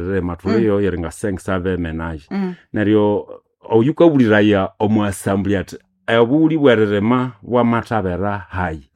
Rema thuliyo yeri nga 500 ménages. Neryo oyukabuliraya omu assembly athi obughuli bw'eririma bwamathabera hayi.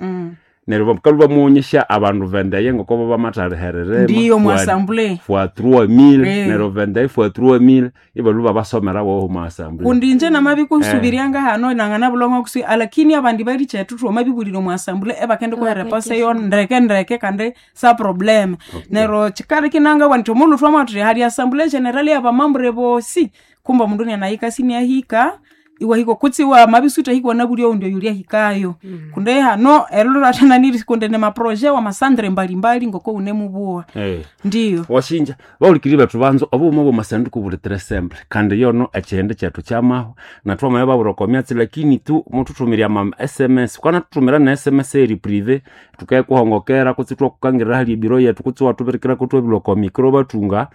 Neryo bakalhwa bamughonyesya abandu vendeye ngoko bo bamathaliha eririma Ndiyo mu assembly. fois 3000. Eh. Neryo vendeye fois 3000 ibalhwa babasomera woho omu assembly. Kundi inje namabikusubiryanga hano nanganabulongo kusi, alakini abandi bali chethu twamabibulira omu assembly ebakende kuha reponse yo ndeke ndeke kandi sa probleme. Neryo chikali kinanga nti omundu twamwathuthi hali assembly general yabamambre bosi, kumbe omundu nianahika siniahika iwahika kutsi wamabisuta hikwa nabulya oundi oyuli ahikayo. Kundi hano erilhulathananiri kundi ni maproje wamasandre mbalimbali ngoko wunemubuwa. Eh. Ndiyo. Washinja bawulikiri bethu banzo obughuma bwamasanduku buli très simple, kandi yono ekyihindi kyethu kyamahwa nathwamaya babwira oko myatsi, lakini tu muthuthumira ama SMS kwanathuthumira ne SMS eri privé, tukayikuhongokera kutsi ithwakukangirira hali ebiro yethu kutsi iwathubirikirako ithwabilhwa oko micro bathunga,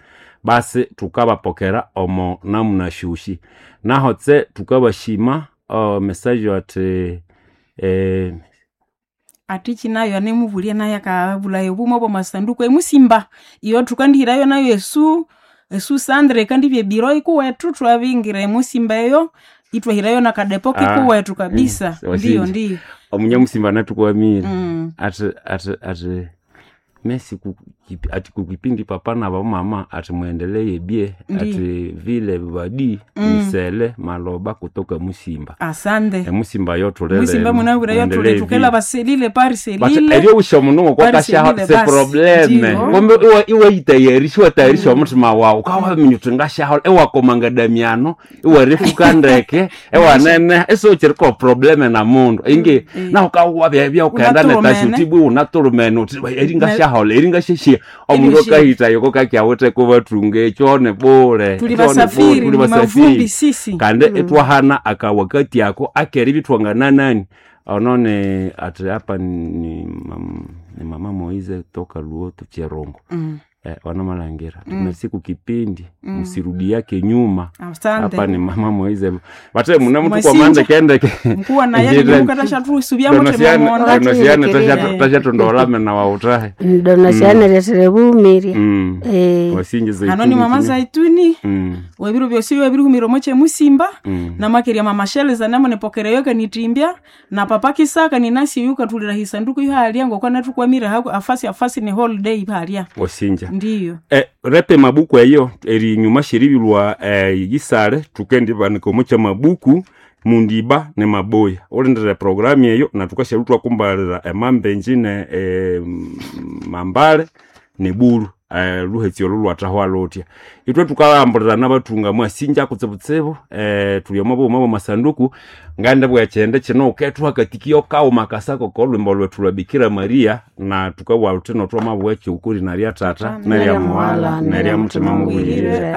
basi thukabapokera omo namuna syosi. Naho tse thukabashima message athi Atichi nayo anemubulya nayo akabulaya obuma bwamasanduku emusimba iyo thukandihirayo nayo esu sandre ikandibya ebiro ikuwethu thwabingira emusimba eyo ithwahirayo nakadepo kikuwethu kabisa. Ndiyo, washinja. Ndiyo. Omunyamusimba nathukwamire athi athi athi mesi ati kukipindi papa na bamama ati muendelee bie. Ndiyo. Ati vile badi misele maloba kutoka musimba. Asante. Emusimba yo thulele. Musimba munabwire yo thuli thukela baselile pari But selile. eryo usha mundu Pari ngokwakashaho selile se basi. probleme. Ndiyo. Kumbe iwayitayarisha iwatayarisha omuthima wawu ukawaminya uthi ngashaho iwakomanga damiano iwarifuka ndeke iwanene isiwukiriko probleme na mundu ingi naho ukawabya ukaghenda Unatulumene. netasutibwi unatulumene uthi eri ngashahola eri ngasheshia omundu Eryo shi- akahitayo kokakyawithe kubathunga ekyo ni bule. Tuli Ekyo ni bule, basafiri, tuli ni basafiri. mavumbi sisi. Kandi itwahana akawakati ako akeribya ithwangananani onone ati apa ni mama Moize toka Luoto Cherongo. Wanamalhangira merci kukipindi msirudi yake nyuma. Asante. Hapa ni mama Moize bate muna mtu kwa Mwasinja. mande kendeke. Mkuwa naye nimukatashatusubyamo temamona. Donosiane Eh. tashatondolame na wautahe. Donasiane resere bumirya. Wasinje zaituni Hano ni mama Zaituni. Webiro byosi webirihumira omo kyemusimba. Namakerya mama Sheleza namunepokereyo kanitimbya na papa Kisaka ninasi yukathulira hisanduku ihalya ngokwa nathukwamire haku afasi afasi ni holiday ihalya. Wasinja. Ndiyo. Repe mabuku eyo erinyuma syeribilwa yisale thukendibanika omo kyamabuku mundiba ne maboya ulindire programu eyo nathukasyalwa ithwakumbalira emambenji ne mambale ne bulu luhetsi olu lwathahwa luthya. Ithwe thukalambulira nabathunga mwasinja kutsibutsibu thuli omo bughuma bwamasanduku ngandibugha ekyindi kino wukethuha akatikio kaghuma akasako kolhwimbo lwethu lwa Bikira Maria na thukabugha thuthi notwamabugha ekyukuri narya Tata nerya Muwala nerya Muthima Mubuyire.